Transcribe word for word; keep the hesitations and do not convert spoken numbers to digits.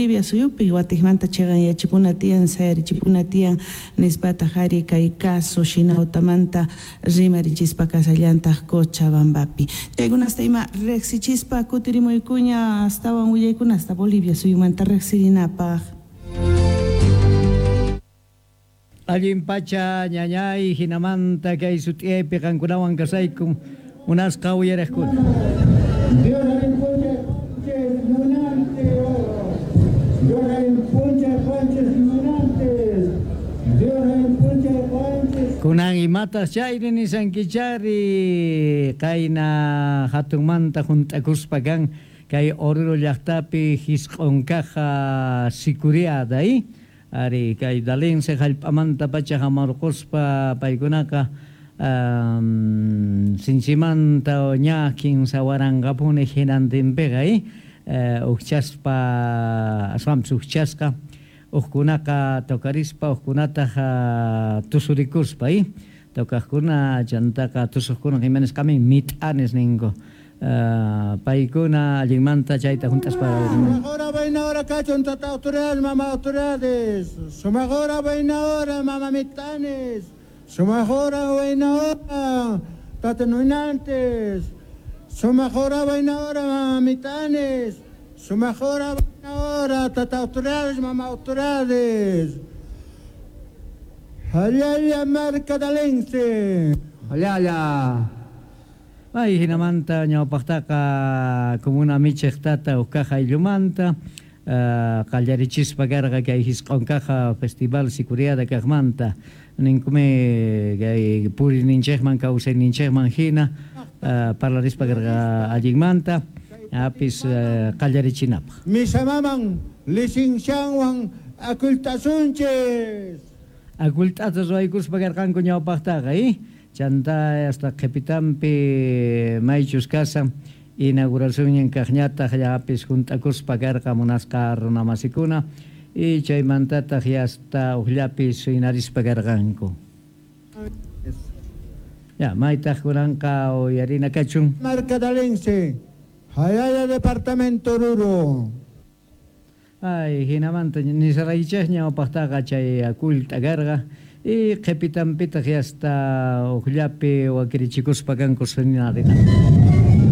Bolivia suyupi watikmanta chiqanyachipuna tiyan sayarichipuna tiyan nispataq ari kay caso Shinautamanta rimarichispa kasallantaq Cochabambapi. Chaykunasta ima riqsichispa kutirimuykuña astawan willaykunasta Bolivia suyumanta riqsirinapaq. Allin pacha ñañay hinamanta kay sut'iyaypi qankunawan kasaykum munasqa uyariqkuna. Kunan imatas chayri nisankichari qayna hatunmanta junt'akuspa kan kay Oruro llaqtapi hisq'unkaqa sikuriada i ari kay dalense hallp'amanta pacha hamarquspa paykunaqa um, sinchimanta ña kinsa waranqapuni hinantinpiqa i uh, uqchaspa aswanpis uqchasqa uqkunaqa tocarispa uqkunataq uh, tusurikuspa i tocaqkuna chantaqa tusuqkuna imanisqami mit'anis ninku. Uh, paykuna allinmanta chayta juntaspa. Sumaqora vaina kachun tata autoridades mama autoridades. Sumaqora vaina hora mama mitanes. Sumaqora vaina hora tata nuinantes. Sumaqora vaina hora mama mitanes. Sumaqora vaina hora tata autoridades mama autoridades. Hayaya mercadalense. Hayaya. Ay, hinamanta ñawpaqtaqa comuna michiqtata uqkaqa ayllumanta uh, qallarichispa karqa kay hisq'unkaqa festival sikuriada kaqmanta ninkumi kay puriyninchikman kawsayninchikman hina uh, parlarispa karqa allinmanta apis uh, qallarichinapaq. Misamaman licencianwan akultasunchis. Akultata ruwaykuspa karqanku ñawpaqtaqa eh? Chanta hasta qhipitanpi maychus kasa inauguración kaqñataq llapis junt'akuspa karqa munasqa runamasikuna y chaymantataq hasta uqllapis inarispa karqanku. Ya, maytaq kunanqa uyarina kachun. Marcadalense, Hayaya departamento Oruro. Ay, hinamanta nisaraychik ñawpaqtaqa chay akult'a karqa. Y qhipitanpitaq hasta uqllapi wakirichikuspa kanku sunarina.